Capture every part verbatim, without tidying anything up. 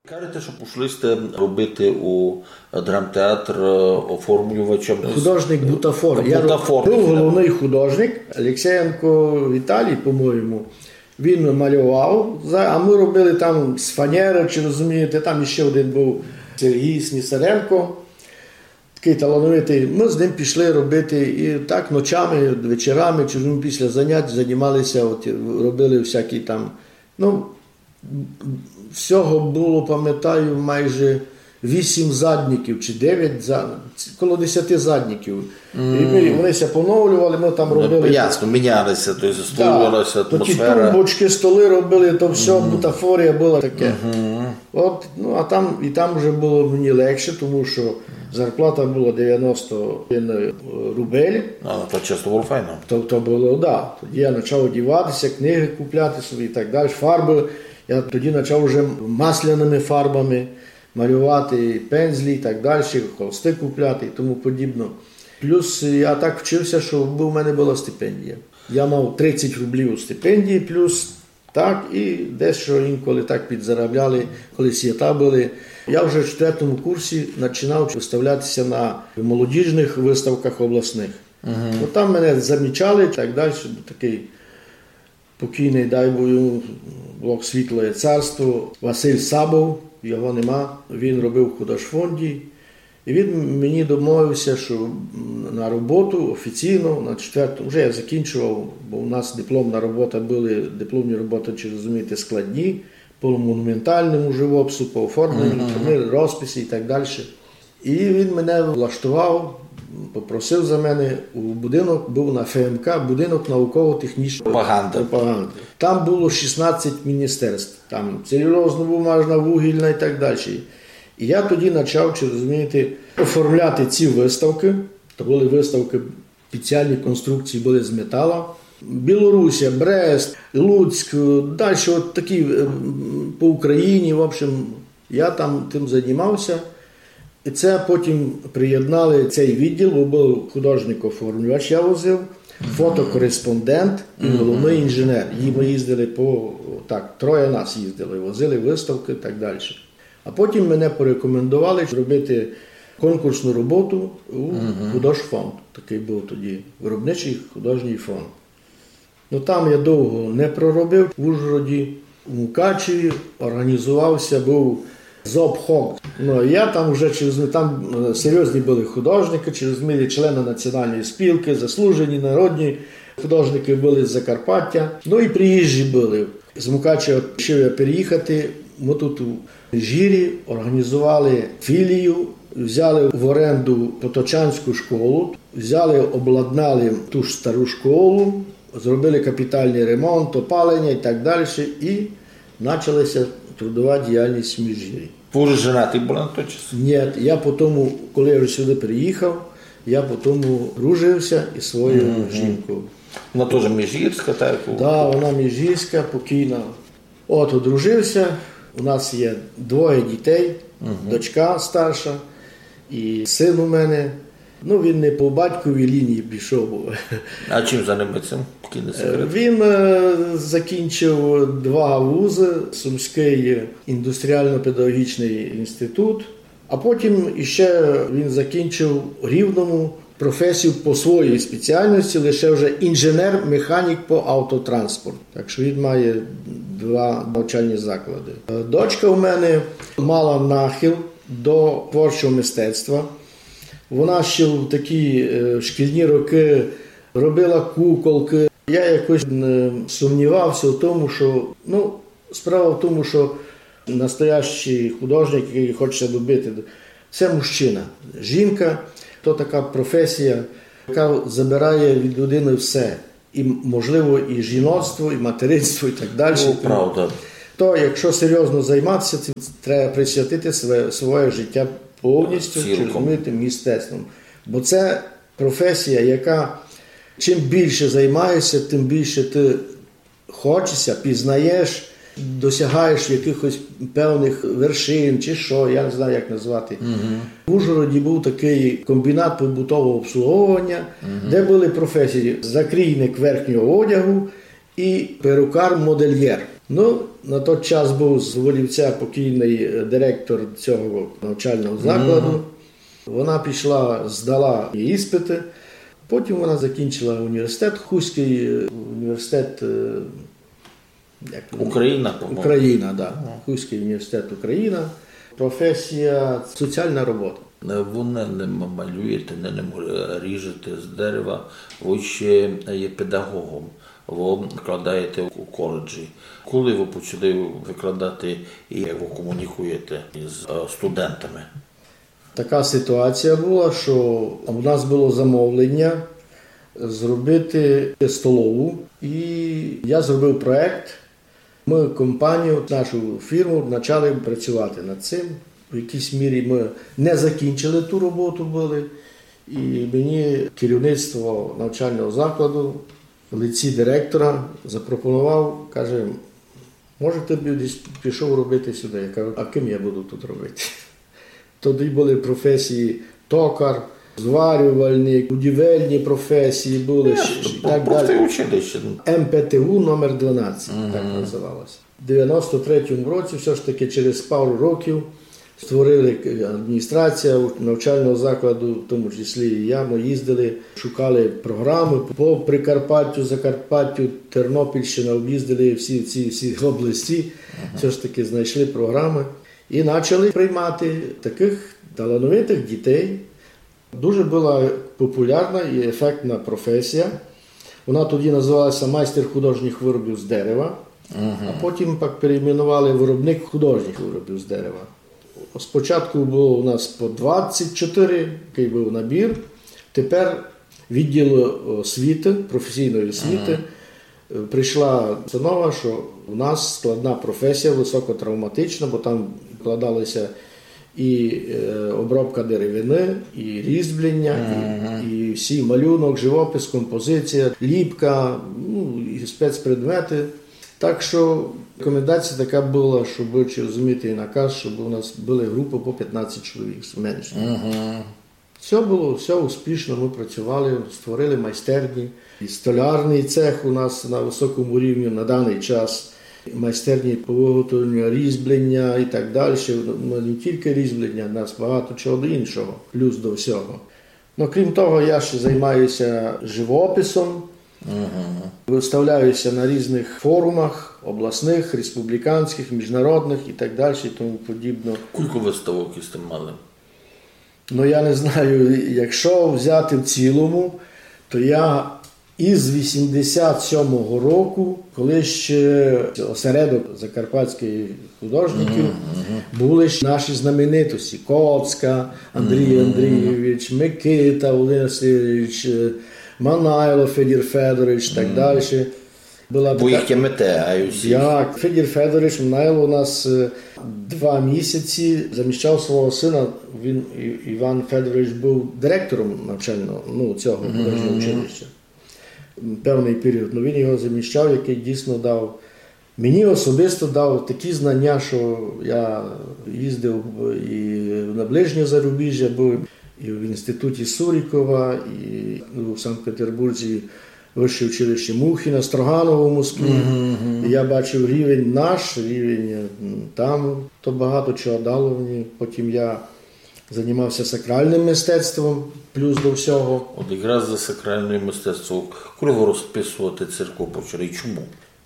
Кажете, што пішли сьте робити у драмтеатр, е, оформлювачем. Художник бутафор. Я Бутафор, быв так. Головный художник, Алексеєнко Віталій, по-моєму. Він малював, за- а мы робили там з фанеры, чи розумієте, там іщи один быв Сергій Снісаренко, такый талановитый. Мы з ним пішли робити і так ночами, вечорами, чи розумієте, після занять займалися, от, робили всякі там, ну, всього было, памятаю, майже вісім задників чи девять, за- коло десяти задників. І мы, вони ся поновлювали, мы там робили. Ну, ясно, міняли ся, то єсть створювала ся атмосфера. Такі тумбочкы, столы робили, то всьо, бутафорія была таке. От, ну, а там, і там вже было мені легше, тому што зарплата была девяносто один рубель. А, то часто было файно. То, то было, да. Тоді я почав одівати ся, книгы купляти собі і так далі, фарбы. Я тоді почав вже масляными фарбами малювати, пензлі і так далі, холсты купляти і тому подібно. Плюс я так вчив ся, што в мене была стипендія. Я мав тридцять рублів стипендії, плюс так, і дещо інколи так підзаробляли, коли свята были. Я вже в четвертому курсі починав выставляти ся на молодіжных выставках обласных. Ну, там мене замічали і так далі, такый покійный, дай Бог йому Бог світлоє царство, Василь Сабов, його нема, він робив в художфонді. І він мені домовив ся, што, м, на роботу офіційно, на четверту, вже я закінчував, бо у нас дипломна робота были, дипломні роботы, чи розумієте, складні, по монументальному живопису, по оформленню, розписи і так далі. І він мене влаштував, попросив за мене у будинок, быв на Ф М К, будинок науково-технічної пропаганды. Там было шістнадцять міністерств, там целюлозно-бумажна, вугільна і так далі. І я тоді почав, чи розумієте, оформляти ці выставкы. То были выставкы, спеціальні конструкції были з метала. Білорусія, Брест, Луцьк, далі от такі, е, м, по Україні, в общем, я там тым займав ся. І це потім приєднали цей відділ, бо быв художник-оформлювач, я возив, фотокореспондент і головный інженер. І мы їздили по, так, троє нас їздили, возили выставкы і так далі. А потім мене порекомендовали зробити конкурсну роботу у художфонд. Такый быв тоді виробничый художній фонд. Ну, там я довго не проробив. В Ужгороді, у Мукачеві організував ся быв зобхок. Ну, я там вже, чи розумієте, там, е, серйозні были художникы, чи розумієте, члены Національної спілкы, заслужені народні художникы были з Закарпаття. Ну, і приїжджі были. З Мукачева рішив я переїхати. Мы тут у Межгірі організували філію, взяли в оренду Поточанську школу, взяли, обладнали ту ж стару школу, зробили капітальный ремонт, опалення і так далі. І почала ся трудова діяльность в Межгірі. Вы вже женаті были на той час? Ні, я по тому, коли я вже сюды переїхав, я по тому дружив ся із своєю жінкою. Вона тоже межгірська, так? Да, вона межгірська, покійна. От, одружив ся, у нас є двоє дітей, дочка старша і син у мене. Ну, він не по батьковій лінії пішов. А чим займається? Покій не секрет. Е, він, е, закінчив два вузы, Сумськый індустріально-педагогічный інститут, а потім іще він закінчив у Рівному професію по своїй спеціальности, лише вже інженер-механік по автотранспорту. Так што він має два навчальні заклади. Е, дочка у мене мала нахил до творчого мистецтва. Вона ще в такі, е, шкільні рокы робила куколкы. Я якось не сумнівався в тому, що, ну, справа в тому, що настоящий художник, який хоче добити, це мужчина. Жінка — то така професія, яка забирає від людини все. І, можливо, і жіноцтво, і материнство, і так далі. Ну, правда. То, якщо серйозно займатися цим, треба присвятити своє, своє життя повністю, чи розумієте, мистецтвом. Бо це професія, яка чим більше займаєшся, тим більше ти хочеся, пізнаєш, досягаєш якихось певних вершин, чи що, я не знаю, як назвати. В Ужгороді був такий комбінат побутового обслуговування, де були професії: закрійник верхнього одягу і перукар-модельєр. Ну, На той час був з Волівця покійный, е, директор цього навчального закладу. Вона пішла, здала іспиты. Потім вона закінчила університет, Хуськый, е, університет, е, як він? Україна, по-моєму. Україна, да. Хуськый університет Україна. Професія соціална робота. Вы не, не м-, малюєте, не, не м-, ріжете з дерева, вы ще є педагогом, вы викладаєте у коледжі. Коли вы почали викладати і як вы комунікуєте із, е, студентами? Така ситуація була, що у нас было замовлення зробити столову, і я зробив проект. Мы компанію, нашу фірму, почали працювати над цим. В якійсь мірі мы не закінчили ту роботу были, і мені керівництво навчального закладу в лиці директора запропонував, каже: «Може, ты бы десь пішов робити сюди?» Я кажу: «А ким я буду тут робити?» Тоді были професії токар, зварювальник, будівельні професії были, щ-, щ-, і так далі. Училище. М П Т У номер дванадцять, так називалося. В девяносто третьому році, все ж таки через пару років, створили, е, адміністрація навчального закладу, в тому числі і я, ми їздили, шукали програми по Прикарпаттю, Закарпаттю, Тернопільщина, об'їздили всі, всі, всі області, все ж таки знайшли програми і почали приймати таких талановитих дітей. Дуже була популярна і ефектна професія. Вона тоді називалася майстер художніх виробів з дерева, а потім пак перейменували виробник художніх виробів з дерева. Спочатку було у нас по двадцять чотири, такий був набір. Тепер відділ освіти, професійної освіти, е, прийшла установа, що у нас складна професія, високотравматична, бо там вкладалися і, е, обробка деревини, і різьблення, і, і всі малюнок, живопис, композиція, ліпка, ну, і спецпредмети. Так що рекомендація така була, щоб, чи розуміти, і наказ, щоб у нас були групи по пятнадцять чоловік, менше. Все було, все успішно, ми працювали, створили майстерні. І столярний цех у нас на високому рівні на даний час. Майстерні по виготовленню різьблення і так далі. Ну, не тільки різьблення, у нас багато чого іншого, плюс до всього. Ну, крім того, я ще займаюся живописом, виставляюся на різних форумах, обласних, республіканських, міжнародних і так далі, і тому подібно. Кілько выставок сьте мали? Ну, я не знаю, якщо взяти в цілому, то я із вісімдесят сьомого року, коли ще осередок закарпатських художників, були ж наші знаменитості: Коцка Андрій Андрійович, Микита Володимир Васильович, е, Манайло Федір Федорович і так далі. Была така... Бо їх тямите, а й усі. Як Федір Федорович Манайло у нас, е, два місяці заміщав свого сина, він, І-, Іван Федорович був директором навчального, ну, цього художнього училища. Певний період. Ну, він його заміщав, який дійсно дав, мені особисто дав такі знання, що я їздив і на ближнє зарубіжжя, був і в інституті Сурікова, і у Санкт-Петербурзі вище училище Мухіна, Строганово в Москві. І я бачив рівень наш, рівень, м, там. То багато чого дало мені. Потім я займався сакральним мистецтвом, плюс до всього. От якраз за сакральне мистецтво, коли вы розписуєте церкву почали, і чому?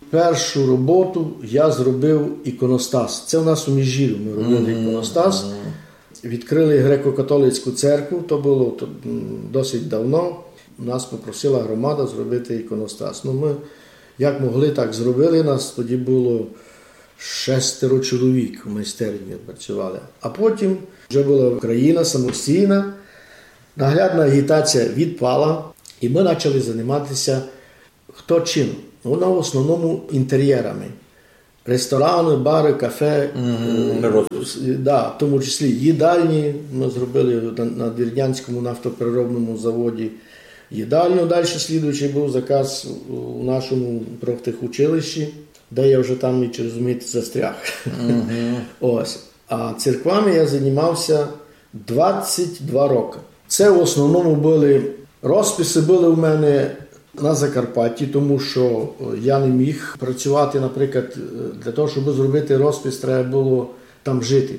Першу роботу я зробив іконостас. Це у нас у Міжгірю ми робили іконостас. Відкрили греко-католицьку церкву, то було то, м, досить давно. Нас попросила громада зробити іконостас. Ну, ми як могли, так зробили. Нас тоді було шестеро чоловік у майстерні працювали. А потім вже була Україна самостійна, наглядна агітація відпала, і ми почали займатися хто чим. Вона в основному інтер'єрами. Ресторани, бари, кафе, е, с-, да, в тому числі їдальні. Ми зробили на, на Надвірнянському нафтопереробному заводі їдальню. Далі слідуючий був заказ у нашому профтехучилищі, де я вже там, і, чи розумієте, застряг. Ось. А церквами я займався двадцять два роки. Це в основному були розписи, були у мене на Закарпатті, тому що е, я не міг працювати, наприклад, е, для того, щоб зробити розпис, треба було там жити.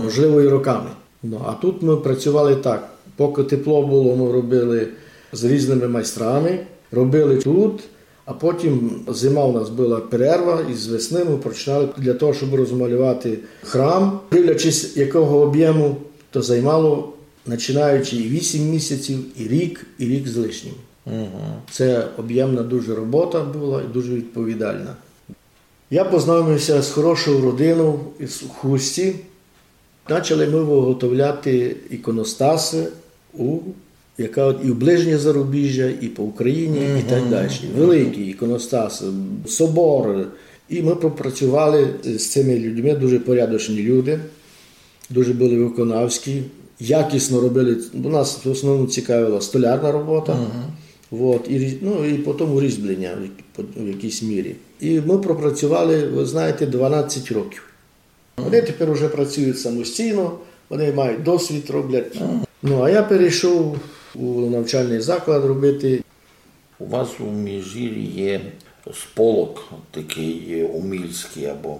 Можливо, і роками. Ну, а тут ми працювали так. Поки тепло було, ми робили з різними майстрами, робили тут, а потім зима у нас була перерва, і з весни ми починали для того, щоб розмалювати храм. Дивлячись, якого об'єму, то займало, починаючи і вісім місяців, і рік, і рік з лишнім. Це об'ємна дуже робота була і дуже відповідальна. Я познайомився з хорошою родиною із Хусті. Почали ми виготовляти іконостаси, у, яка от і в ближнє зарубіжжя, і по Україні, і так далі. Великі іконостаси, собори. І ми попрацювали з цими людьми, дуже порядочні люди, дуже були виконавські, якісно робили. У нас в основному цікавила столярна робота, от, і, різ- ну, і потім різьблення в як- в якійсь мірі. І ми пропрацювали, ви знаєте, дванадцять років. Вони тепер вже працюють самостійно, вони мають досвід, роблять. Ну, а я перейшов у навчальний заклад робити. У вас у Міжгір'ї є сполок такий умільський або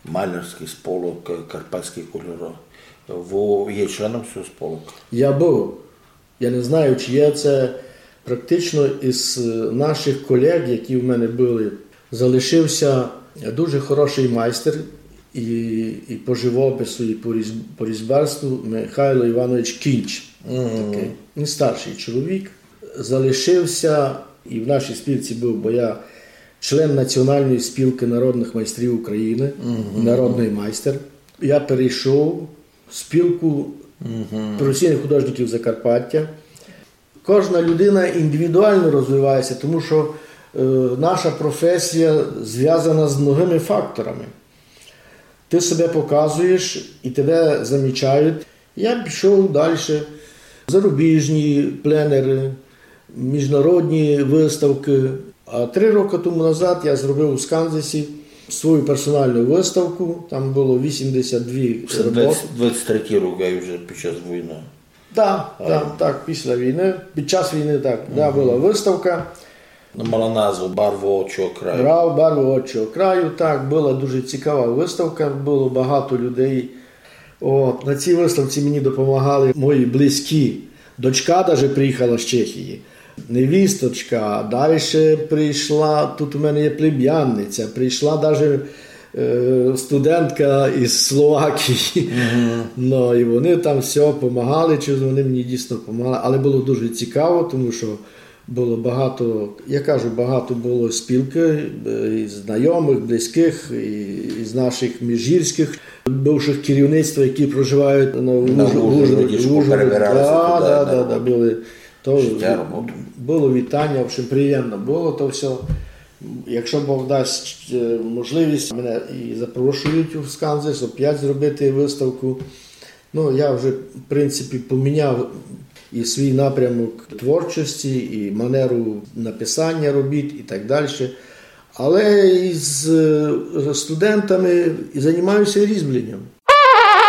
малярський сполок, е, карпатські кольори. Ви є членом цього сполока? Я був. Я не знаю, чи є це практично із е, наших колег, які в мене були. Залишився дуже хороший майстер і, і по живопису, і по різ- по різьбарству Михайло Іванович Кінч. Такий. Він старший чоловік. Залишився і в нашій спілці був, бо я член Національної спілки народних майстрів України, народний майстер. Я перейшов в спілку професійних художників Закарпаття. Кожна людина індивідуально розвивається, тому що е, наша професія зв'язана з многими факторами. Ти себе показуєш і тебе замічають. Я пішов далі. Зарубіжні пленери, міжнародні виставки. А три роки тому назад я зробив у Сканзесі свою персональну виставку. Там було вісімдесят дві Це роботи. двадцять, двадцять третій рік, а вже під час війни. Так, так, так, після війни, під час війни, так, да, була виставка. Вона мала назву Барвы отчого краю. Брав барвы отчого краю, так, була дуже цікава виставка, було багато людей. От, на цій виставці мені допомагали мої близькі. Дочка даже приїхала з Чехії. Невісточка, далі прийшла, тут у мене є племянниця, прийшла даже е, студентка із Словакії. Ну, і вони там все допомагали, чи вони мені дійсно допомагали. Але було дуже цікаво, тому що було багато, я кажу, багато було спілки е, і знайомих, близьких, і, і з наших міжгірських бувших керівництва, які проживають на, На Ужгороді, Ужгороді, що перебиралися да, туди, да, на да, да, були. То життя, роботу. Було вітання, в общем, приємно було то все. Якщо Бог дасть е, можливість, мене і запрошують в Сканзес опять зробити виставку. Ну, я вже, в принципі, поміняв і свій напрямок творчості, і манеру написання робіт, і так далі. Але із е, студентами і займаюся різьбленням.